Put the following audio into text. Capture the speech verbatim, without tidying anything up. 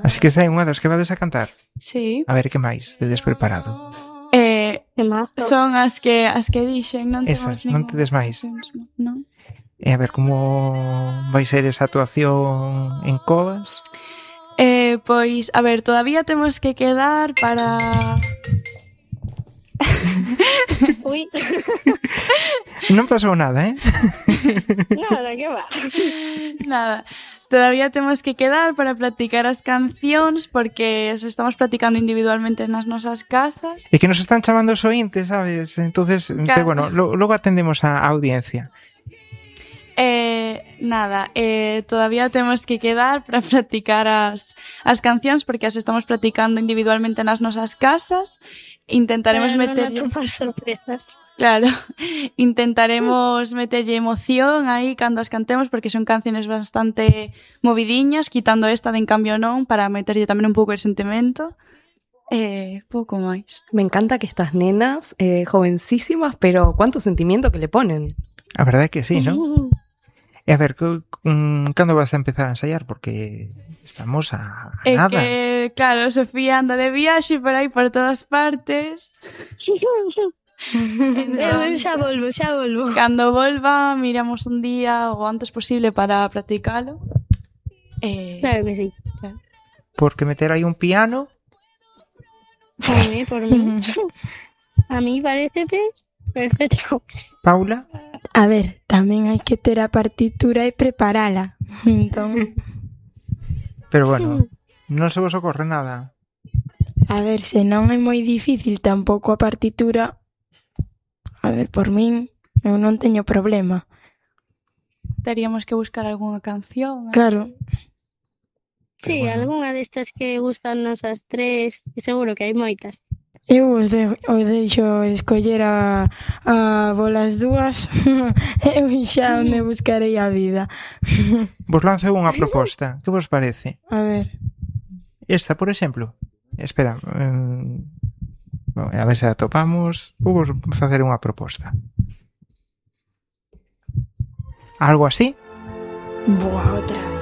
Así que esta é unha das que vades a cantar. Sí. A ver, que máis tedes preparado? Eh, son as que as que dixen, non Esas, temos ningún... non tedes máis. Non. E a ver, como vai ser esa actuación en Covas? Eh, pois, a ver, todavía temos que quedar para... Ui. Non pasou nada, eh? Nada, que va. Nada. Todavía temos que quedar para practicar as cancións porque as estamos practicando individualmente nas nosas casas. E que nos están chamando os ointes, sabes? Entonces, Claro. pero bueno, lo, logo atendemos a audiencia. Eh, nada, eh, todavía temos que quedar para practicar as, as cancións porque as estamos practicando individualmente nas nosas casas. Intentaremos meter... Para non atopar sorpresas. Claro, intentaremos meterlle emoción aí cando as cantemos porque son canciones bastante movidiñas, quitando esta de En Cambio Non, para meterlle tamén un pouco de sentimento. Eh, pouco máis. Me encanta que estas nenas, eh, jovencísimas, pero cuánto sentimiento que le ponen. A verdade é que sí, ¿no? E a ver, cando vas a empezar a ensaiar? Porque estamos a, a É nada. que, claro, Sofía anda de viaxe por aí por todas partes. Eu xa volvo, xa volvo. Cando volva, miramos un día o antes posible para practicalo. Eh, Claro que sí. Claro. Porque meter aí un piano... Por mí, por mí. A mí parece perfecto. Paula? A ver, tamén hai que ter a partitura e preparala. Entón, Pero bueno, non se vos ocorre nada. a ver, se non é moi difícil tampouco a partitura, a ver, por min, eu non teño problema. Teríamos que buscar algunha canción. Claro. Sí, bueno. algunha destas que gustan nosas tres, que seguro que hai moitas. Eu os, de, os deixo escoller a, a bolas dúas. Eu xa onde buscarei a vida. Vos lanzo unha proposta. Que vos parece? A ver. Esta, por exemplo. Espera. Um, a ver se a topamos. Vou vos facer unha proposta. Algo así? Boa, outra vez.